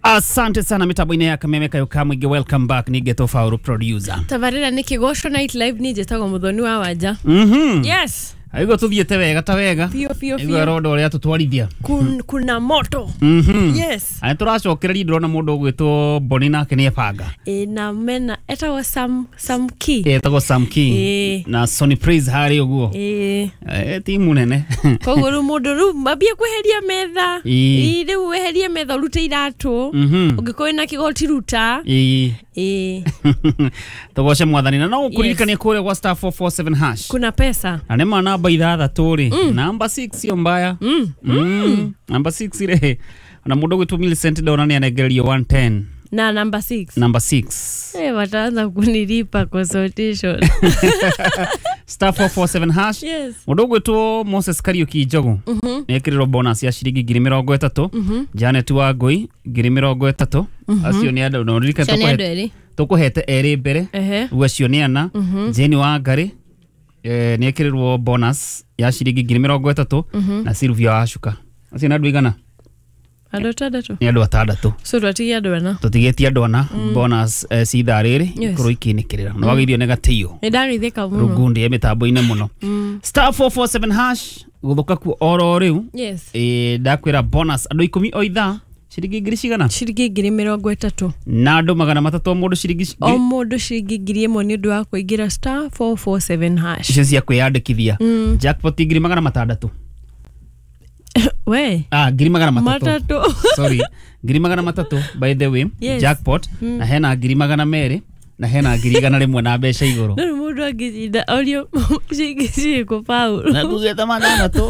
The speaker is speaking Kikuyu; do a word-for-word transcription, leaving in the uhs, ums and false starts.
Asante sana mitambo-inĩ ya Kameme Kayo ka Mũingĩ. Welcome back nĩ Geto Faulu producer. Tabarĩra nĩ Kĩgoco Night Live, niĩ njĩtagwo Mũthoni wa Wanja. Mhm. Yes. Aigua tũthiĩte wega ta wega. Biũ biũ. Aigua Biũ. rondo ũrĩa tũtwarithia. Kun, kuna moto. Mhm. Yes. Na nĩ tũracokereria, ndĩrona mũndũ ũgwĩtwo Boni nake nĩ ebanga. Ĩ na mena etagwo Sam Sam Key. Etagwo Sam King. Ĩ. Na Sony Praise harĩ ũguo. Ĩ. Eh, timu nene. Koguo rĩu mũndũ rĩu mambie kweheria metha. Ĩ. Ĩ, rĩu weherie metha, ũrute iratũ. Mhm. Ũngĩkorwo wĩna kĩgoti, ruta. Ĩ. Ĩ. Tũgoce mwathani na no ũkũririkanie kũrĩa gwa star four four seven hash. Kuna pesa. Na nĩ ma namba ithathatũ rĩ, namba six sio mbaya. Mm. Mm. Namba six rĩ, ona mũndũ ũgwĩtwo Millicent ndona nĩ anengererio one ten. Na namba six. Namba six. Eh, wataanza kunilipa consultation. Star four four seven hash. Yes. Mũndũ ũgwĩtwo Moses Kariũki Njogu nĩ ekĩrĩrwo bonus ya ciringi ngiri mĩrongo ĩtatũ. Janet Wangũi ngiri mĩrongo ĩtatũ. Acio nĩ andũ no ririkane. Acio nĩ andũ tũkũhe- erĩ. Tũkũhete erĩ mbere. Ehe. Rĩu acio nĩ ana. Jane Wangari eh, nĩ ekĩrĩrwo bonus ya ciringi ngiri mĩrongo ĩtatũ, na Sylvia Wacuka. Acio nĩ andũ igana? Andũ atandatũ. Nĩ andũ atandatũ. So twatigia andũ ana. Tũtigĩtie andũ ana bonus eh, ci ithaa rĩrĩ. Yes. Ikorwo ikĩnĩkĩrĩra na wagĩrĩirio nĩ gatĩo. Nĩ ndageithĩka mũno. Rungundi ya mĩtambo-inĩ mũno. Star four four seven hash gũthũka kuo oro rĩu. Yes. Ĩ, ndakwĩra bonus andũ ikũmi o ithaa ciringi ngiri cigana? Ciringi ngiri mĩrongo ĩtatũ. Na andũ magana matatũ o mũndũ ciringi O ngiri- mũndũ ciringi ngiri ĩmwe nĩ ũndũ wa kũingĩra star four four seven hash. Icio cia kwĩyandĩkithia. Jackpot ngiri magana matandatũ. We. Ah, ngiri magana matatũ. Matatũ. Sorry, ngiri magana matatũ, by the way. Yes. Jackpot na hena ngiri magana merĩ na hena ngiri igana rĩmwe na mbeca igũrũ. No rĩu mũndũ angĩcinda orio ciringi cirĩkũ, Paul? Na tugĩte matandatũ.